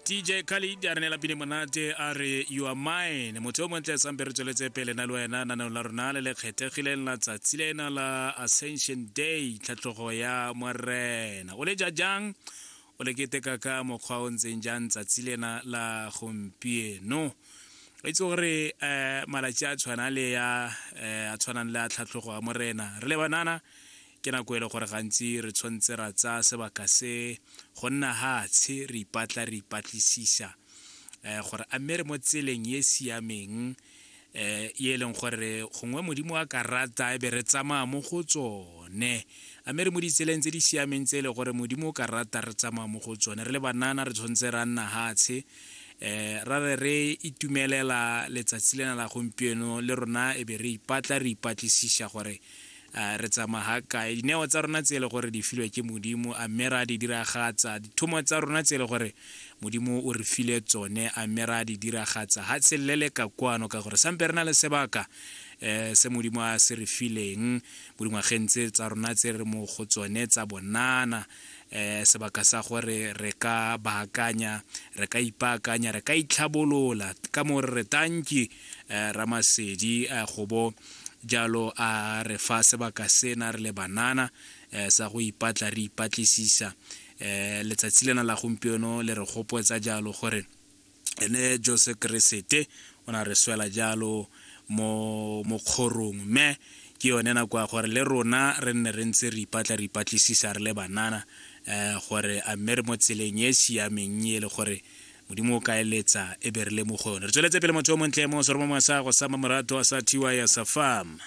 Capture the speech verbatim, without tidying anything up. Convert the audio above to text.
D J Khaled a re neela pine monate a re you are mine. Motho yo montle sampe re tsweletse pele na le wena naneo la rona le le kgethegileng la tsatsi lena la Ascension Day, tlhatlhogo ya Morena. O le ja jang? O le keteka ka mokgwa o ntseng jang tsatsi lena la gompieno? O itse gore um malatsi a tshwana le ya um a tshwanang le a tlhatlhogo ya Morena, re le banana ke nako e le gore gantsi re tshwanetse ra tsaya sebaka se go nna hatshe re ipatla re ipatlisisa um gore a mme re mo tseleng e siameng um e leng gore gongwe Modimo a ka rata e be re tsamaya mo go tsone, a mme re mo ditseleng tse di siameng tse e le gore Modimo o ka rata re tsamaya mo go tsone. Re le banana re tshwanetse ra nna hatshe um ra re re itumelela letsatsi lena la gompieno le rona e be re ipatla re ipatlisisa gore re tsamaya kae, dineo tsa rona tse e le gore di filwe ke Modimo a mme ra di diragatsa, dithomo tsa rona tse e le gore Modimo o re file tsone a mme ra di diragatsa. Ha tshelele ka kwano ka gore sampe re na le sebaka um se Modimo a se re fileng mo dingwageng tse tsa rona tse re mo go tsone tsa bonana, um sebaka sa gore re ka baakanya, re ka ipaakanya, re ka itlhabolola ka mo re re tanki um Ramasedi go bo jalo a re fa sebaka sena re le banana um sa go ipatla re ipatlisisa. Um letsatsi lena la gompieno le re gopotsa jalo gore ene Jesu Keresete o na re swela jalo mo mo kgorong, mme ke yone nako ya gore le rona re nne re ntse re ipatla re ipatlisisa re le banana um gore a mme re mo tseleng e siameng e le gore Modimo o ka eletsa e be re le mo go yone. Re tsweletse pele motho yo montle mo seromong sa go sa Mamorato sa T Y ya sa Farm.